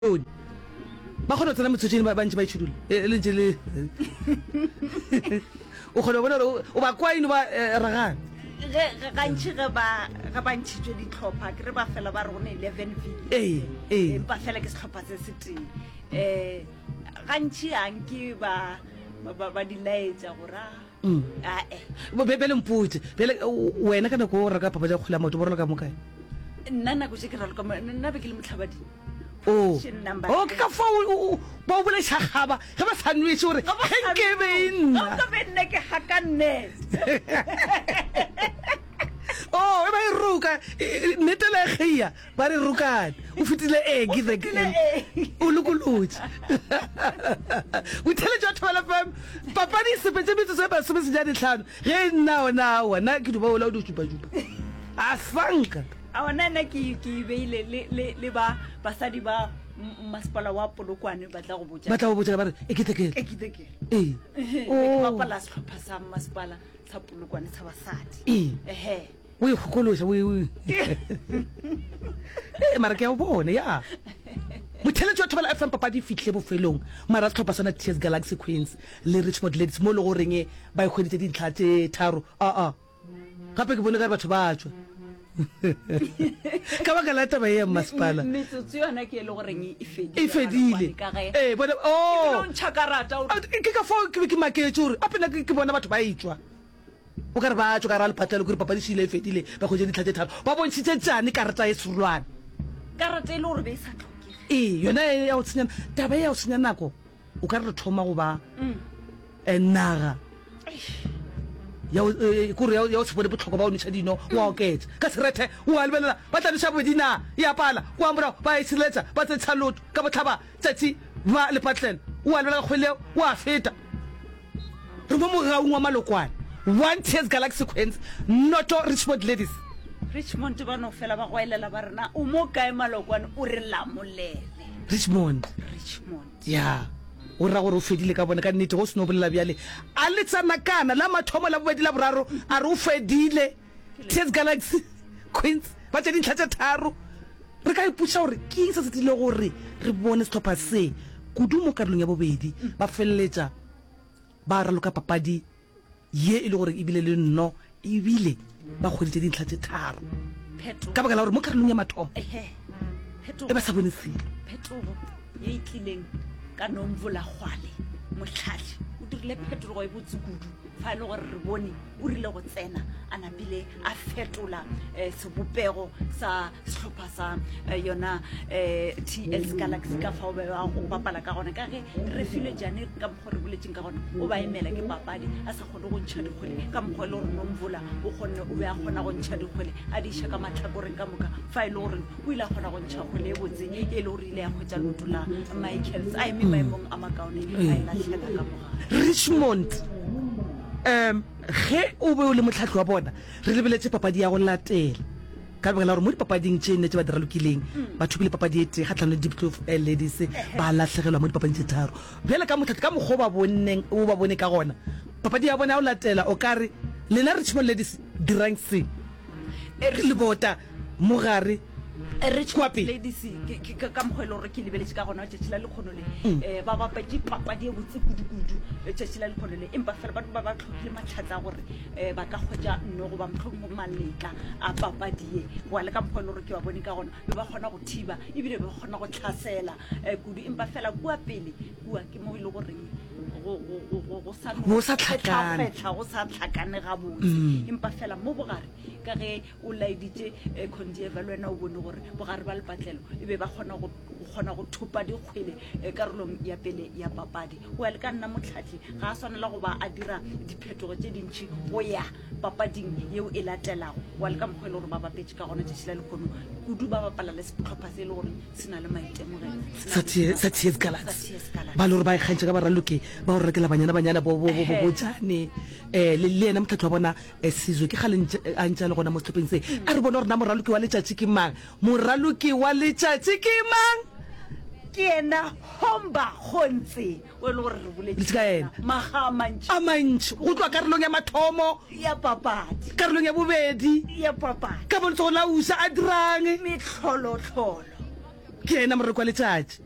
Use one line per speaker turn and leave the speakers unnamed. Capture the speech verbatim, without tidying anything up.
Ba kgona go tsena metsotšeng ba bantši ba itšhidula e le ntše le o kgona go bona gore o ba kwa eno ba eh, ragana.
Ge gantši ge ba ge ba ntšhitšwe dihlopha ke re ba fela ba re go ne eleven village.
Ee, ee.
Empa fela ke sehlopha se se tee. Eh gantši a nke ba ba ba di laetša gore a
Mm.
ae.
Bjale mpotše, bjale wena ka nako o reka papadi ya kgwele ya maoto bo raloka mo kae?
Nna nako tše ke raloka mo nna be ke le mohlabading.
O, o ke ka fao ba o bolaiša kgaba ge ba sa nweše gore ge nke be e nna.
Ge be nna ke haka net.
O, e ba e roka, nnete le kgeia, ba re rokane. O fetile egi the o lokolotše. Botheletši wa Thobela F M, papadi e sepetše metsotso e masome senyane hlano. Ge e nna ona aowa, nna ke duba ola o di šupa-šupa. A sanka.
Aowa, nna nna ke ke e beile le le le ba basadi ba masepala wa Polokwane ba tla go botša.
Ba tla go botša ba re e ke tekele.
E ke tekele.
Ee.
Ehe, oh. Ke bapala sehlopha sa masepala sa Polokwane sa basadi.
Ee.
Ehe.
O e kgokološa o e o. Ee, mara ke a o bona ya. Motheletši wa Thobela F M papadi e fihlile bofelong mara sehlopha sona T S Galaxy Queens le Richmond Ladies mo e le goreng ba e hweditše dintlha tše tharo. Aa. Gape ke bone ka re batho ba tšwa ka baka la taba ye ya mmasepala.
Metsotso yona ke e le goreng e fedile.
E fedile.
Ka ge.
Ee, bona oh.
O ntšha karata o.
Ke ka fao ke be ke maketše gore gape nna ke bona batho ba etšwa. O ka re ba tšwa ka ra lepatlelo kore papadi šile e fedile ba hwetše dintlha tše tharo. Ba bontšhitše tšane karata e serolwane.
Karata e le gore be e sa tlhokege.
Ee, yona e ya go senya taba e ya go senya nako. O ka re re thoma go ba naga ya kore ya go se bone bohlokwa ba go nweša dino, wa oketša ka serethe, wa lebelela ba tla nweša bobedi na ya pala, kwa morago ba e šireletša, ba tsentšha loto ka bohlaba tšatši ba lepatlelo, wa lebelela ka kgwele yeo wa feta. Re mo mogaung wa malokwane, one Tears Galaxy Queens, noto Richmond Ladies.
Richmond ba no fela ba goelela ba re na o mo kae malokwane o re lamolele.
Richmond.
Richmond.
Ya, go ra gore o fedile ka bona. Ka nnete, go se no bolela bjale, a le tsanakana, la mathomo, la bobedi, la boraro, a re o fedile. T S Galaxy, Queens, ba tše dintlha tše tharo. Re ka ipotšiša gore ke eng se se tlile gore re bone sehlopha se, kudu mo karolong ya bobedi, ba feleletša ba raloka papadi ye e le gore e bile le nno ebile ba hweditše dintlha tše tharo ka baka la gore mo karolong ya mathomo e ba sa bone selo.
Phetogo ye e tlileng ka Nomvula Kgwale, mohlahli o dirile phetogo e botse kudu fa e le gore re bone o rile go tsena a napile a fetola eh, sebopego sa sehlopha sa eh, yona eh, T S Galaxy ka fao ba go bapala ka gona ka ge re filwe jane ka mokgwa re boletseng ka gona o ba emela ke papadi a sa kgone go ntšha dikgwele ka mokgwa e le gore Nomvula o kgonne o be a kgona go ntšha dikgwele a di iša ka mahlakoreng ka moka fa e le gore o ile a kgona go ntšha kgwele e botse e le gore ile ya hwetša leoto la Michaels a eme maemong a makaone a e lahlela ka mogare.
Richmond um ge o be o le mohlahli wa bona re lebeletše papadi ya go latela ka lebaka la gore mo dipapading tše nne tše ba di ralokileng ba thopile papadi e tee kgatlhanong le Diepkloof Ladies ba lahlegelwa mo dipapading tše tharo bjale ka mohlahli ka mokgwa o ba bonneng o ba bone ka gona papadi ya bona ya go latela o ka re lena Richmond Ladies dirang se lebota mo gare
Kwa pele. Ladies, ke, ke, ka mokgwa e le gore ke lebeletše ka gona letšatši la lekgono le mm. eh, ba bapetše papadi e botse kudu-kudu letšatši la lekgono le empa fela ba ba ba tlhokile matlhatsa a gore um ba ka kgwetša nno goba mohlomongwe maletla a papadi ye goa le ka mokgwa e le gore ke ba bone ka gona be ba kgona go thiba ebile be ba kgona go tlhasela um kudu empa fela kua pele kua ke mo e le goreng
go sa tlhakane
go sa tlhakane gabotse mm. empa fela mo bogare ka ge o laeditše eh, Condieva le wena o bone gore bogare ba lepatlelo e be ba kgona go kgona go thopa dikgwele eh, karolong ya pele ya papadi. Go ya le ka nna motlhatli ga a swanela go ba a dira diphetogo tše dintši go ya papading yeo e latelago. Go ya le ka mokgwa e le gore ba bapetše ka gona tšatši la lekgono kudu ba bapala le sehlopha se e le gore se na le maitemogelo
sa T S Galaxy ba le gore ba ikgantšha ka baraloki ba go rekela Banyana Banyana bo bo bo bo Jane eh le yena motlhatli wa bona Sizwe ke kgale a ntše a le gona mo sehlopheng se. A re bone gore na moraloki wa letšatši ke mang. Moraloki wa letšatši ke mang?
Ke yena Homba Kgontse o e le gore re boletše
ka yena
makga a mantši.
A mantši go tloga karolong ya mathomo.
Ya papadi.
Karolong ya bobedi.
Ya papadi.
Ka mo letsogong la usa a dirang?
Mehlolohlolo.
Ke yena moraloki wa letšatši.